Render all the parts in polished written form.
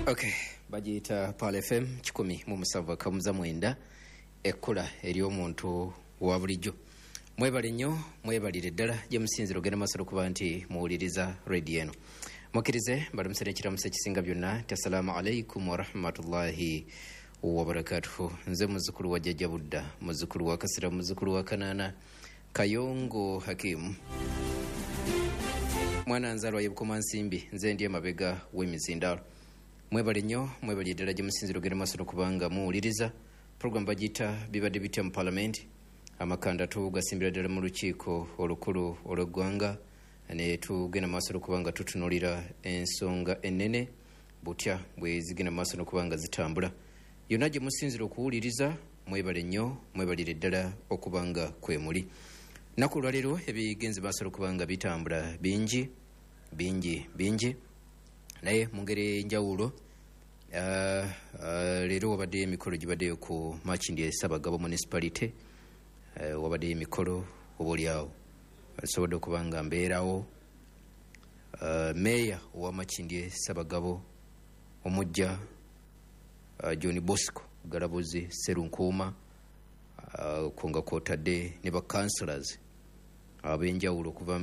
Okay, bagiyita Pearl FM 107.9, ekkula ery'omuntu wa bulijjo. Mwebale nnyo, mwebalire ddala gye musinzira ogenda maaso okuba nti muwuliriza rediyo eno. Mukkirize mbalamusire ekiramuso ekisinga byonna nti assalaamu alaikum warahmatullahi wabarakatuhu. Nze muzzukulu wa Jjajja Budda, muzzukulu wa Kasira, muzzukulu wa Kanaana, Kayongo Hakimu, mwana nzalwa ye Bukomansimbi, nze ndi emabega w'emizindaalo. Mwebale nnyo, mwebalire ddala gye musinzira ogenda maaso n'okubanga muwuliriza program bagiyita Bibadde Bitya mu Palamenti. Amakanda tugasimbira ddala mu lukiiko olukulu olw'eggwanga ne tugenda maaso n'okuba nga tutunuulira ensonga ennene butya bwe zigenda maaso n'okuba nga zitambula. Yonna gye musinzira okuwuliriza, mwebale nnyo, mwebalire ddala okuba nga kwe muli. Nnaku olwaleero ebigenze maaso n'okuba nga bitambula bingi bingi bingi, naye mu ngeri ey'enjawulo leero wabaddeyo emikolo gibaddeyo ku Makindye Ssaabagabo Municipality. Wabaddeyo emikolo oba oliawo nsobodde okuba nga mbeerawo. Meeya owa Makindye Ssaabagabo omujja John Bosco Galabuzi Sserunkuuma, okwo nga kwotadde ne ba councillors ab'enjawulo okuva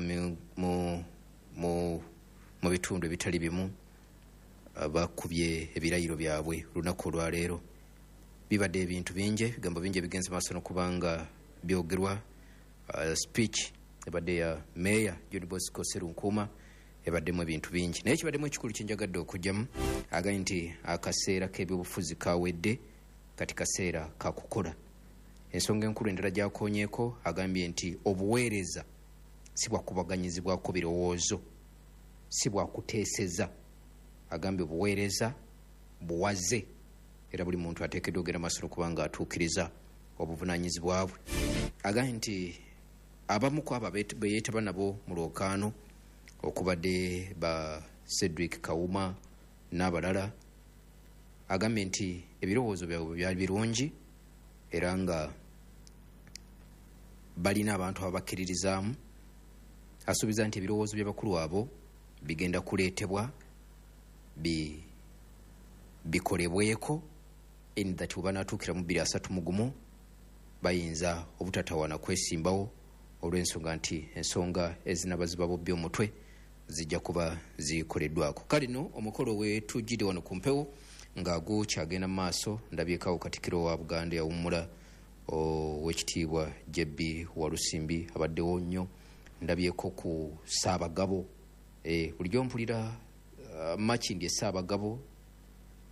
mu bitundu ebitali bimu, bakubye ebirayiro byabwe olunaku olwaleero. Bibadde ebintu bingi, ebigambo bingi ebigenze maaso n'okuba nga byogerwa. Speech ebadde ya meeya John Bosco Sserunkuuma ebaddemu ebintu bingi, naye kibaddemu ekikulu kyenjagadde okugyamu, agambye nti akaseera k'ebyobufuzi kawedde, kati kaseera kakukola. Ensonga enkulu endala gyakonyeeko, agambye nti obuweereza si bwakubaganyizibwako birowoozo, si bwakuteeseza. Agambye obuweereza buwaze era buli muntu ateekeddwa ogenda maaso n'okuba nga atuukiriza obuvunaanyizibwa bwe. Agambye nti abamu ku abo be yeetaba nabo mu lwokaano okubadde ba Cedric Kawuma n'abalala, agambye nti ebirowoozo byabwe byali birungi era nga balina abantu ababakkiririzaamu. Asuubiza nti ebirowoozo by'abakulu abo bigenda kuleetebwa bikolebweko, in that bwe banaatuukira mu 2031 bayinza obutatawaana kwesimbawo, olw'ensonga nti ensonga ezinaba zibabobbya omutwe zijja kuba zikoleddwako. Kale nno omukolo wetujjidde wano ku mpewo nga gukyagenda mu maaso, ndabyekawo Katikkiro wa Buganda yawummula, owekitiibwa JB Walusimbi, abaddewo nnyo. Ndabyeko ku Ssaabagabo. Bulijjo mpulira Makindye Ssaabagabo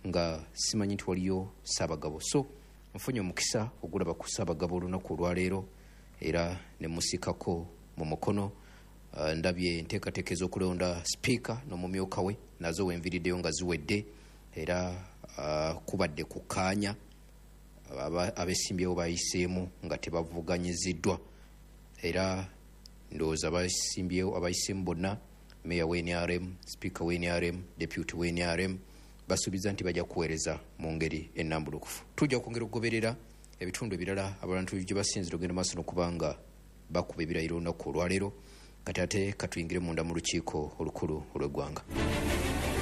nga simanyi nti waliyo Ssaabagabo, so nfunye omukisa ogulaba ku Ssaabagabo olunaku olwaleero era ne musikako mu mukono. Ndabye enteekateeka ez'okulonda sipiika n'omumyuka we nazo wenviriddeyo nga ziwedde, era kubadde kukkaanya, abesimbyewo bayiseemu nga tebavuganyiziddwa, era ndowooza abasimbyewo abayiseemu bonna, meya wa NRM, sipiika wa NRM, deputy wa NRM, basuubiza nti bajja kuweereza mu ngeri ennambulukufu. Tujja kwongera okugoberera ebitundu ebirala abantu gye basinzira ogenda maaso n'okuba nga bakuba ebirayiro olunaku olwaleero. Kati ate katuyingire munda mu lukiiko olukulu olw'eggwanga.